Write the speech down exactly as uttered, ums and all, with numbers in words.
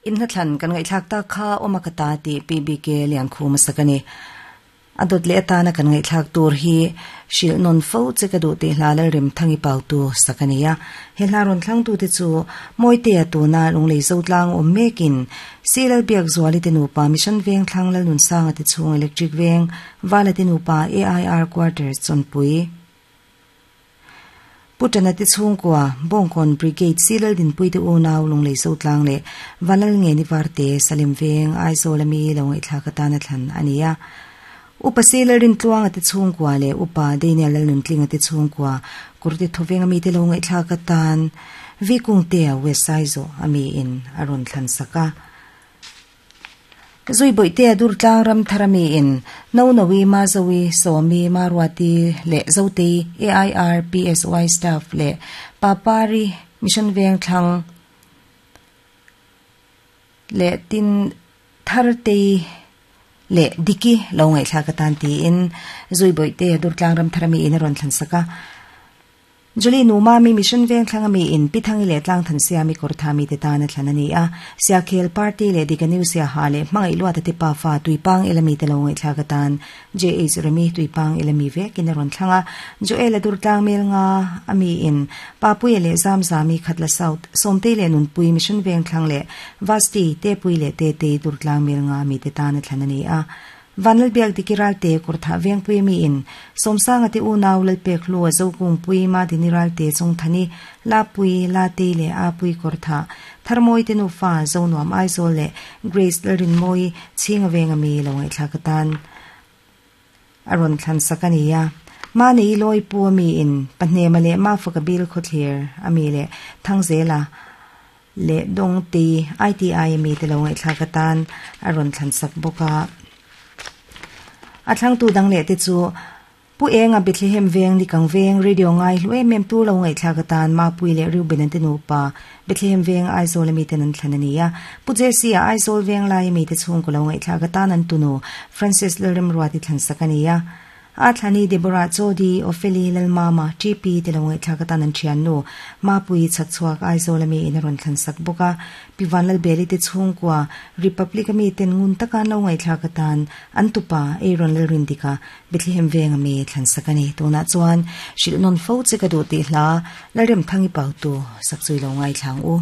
In hla thlan kan ngaihthlak tak kha awm a ka ta tih P B K Liankhuma sakani a dawt leh atana kan ngaihthlak tur hi hrilh nawn fo che ka duh tih hla Lalrem Thangi Pautu sakani a he hla rawn thlang tu te chu Mawitea tuna lunglei zo tlang awm mekin Silal Biak Zuali te nupa Mission Veng Thlang Lalnun Sanga te chhung Electric Veng Vala te nupa A I R Quarters Chawnpui Putana te chhungkua Bawngkawn Brigade Silal Dinpui te unau lunglei zo tlang leh Vanlal nge ni varte Salim Veng Aizawl ami lo ngaihthlak atana thlan ani a Upa Silal Rintluanga te chhungkua leh Upa Daniel Lalnuntlinga te chhungkua Kurti Thawveng ami te lo ngaihthlak atan Vikung te a West Aizawl ami in a rawn thlan saka Zui boite a dur tlang ram tharami in no nowi ma zowi somi ma ruati le zote A I R P S Y staff le papari Mission Veng Thlang le tin tharte le diki lo ngai thla ka tan ti in zui boite a dur tlang ram tharami in a rawn thlan saka Julie nu ma mi Mission Veng Thlang ami in pithangi le tlang than sia mi kor tha mi te ta na thlan ani a sia khel party le dikaniu sia ha le mangai lua te pa fa tuipang elami te lo ngai thla ka tan J H Remi tuipang elami ve kin ron thlanga Joel adur tlang mel nga ami in papui le zam zami khatla south somte le nun pui Mission Veng Thlang le vasti te pui le te te dur tlang mel nga mi te ta na thlan ani a Vanal biak dikiral te kurtha veng pui mi in somsanga te unaw lal pek lu zo kung pui ma diniral te chung thani la pui la te le a pui kurtha tharmoi te nu fa zo nuam Aizawl le Grace Lalrin moi chinga venga mi lo ngai thla katan aron thlan sakania ma nei loi pu mi in pahne ma le ma fa ka bil khothlir ami le thangzela le dong ti I T I mi te lo ngai thla katan aron thlan sak boka a thlang tu dang le te chu pu enga Bethlehem Veng ni kang veng radio ngai hlue mem tu lo ngai thla ka tan ma pui le Reuben te nu pa Bethlehem Veng Aizawl mi te nan thlan ani a pu Jesse a Aizawl Veng lai mi te chung ko lo ngai thla ka tan an tunu Francis Lalrem Ruati thlan sakani a a thlani Deborah Chodi Opheli Lalmama T P te lo ngai thla ka tan an thian nu ma pui chakchuak Aizawl mi in ron thlan sak boka pivan lal beli te chung kwa Republic mi ten ngun takan lo ngai thla ka tan an tupa Aaron Lalrin dika Bethlehem Veng ami thlan sakani tuna chuan shil non fo che ka du ti hla Lalrem Thangi Pautu sakchui lo ngai thlang u.